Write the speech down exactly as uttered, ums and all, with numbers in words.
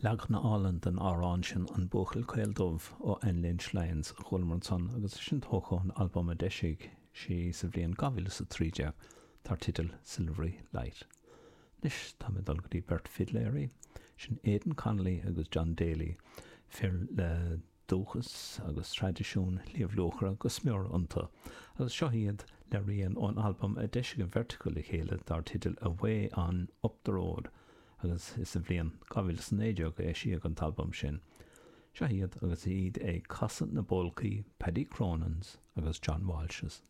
Leagan álainn den amhrán sin An Buachaill Caol Dubh ó Anne Lynch Lyons a chualamar ansan agus sin tógtha ón albam a d'eisigh sí sa bhliain dhá mhíle is a trí déag dar teideal Silvery Light. Anois tá mé ag dul go dtí beirt fidléirí, sin Aidan Connolly agus John Daly, fir le dúchas agus traidisiún Shliabh Luachra go smior iontu, agus seo iad le rian ón albam a d'eisigh an bheirt acu le chéile dar teideal Away on Up the Road. agus is sa bhliain dhá mhíle is a naoi déag a eisíodh an t-albam sin. Seo iad agus iad ag casadh na bpolcaí Paddy Cronin's agus John Walsh's.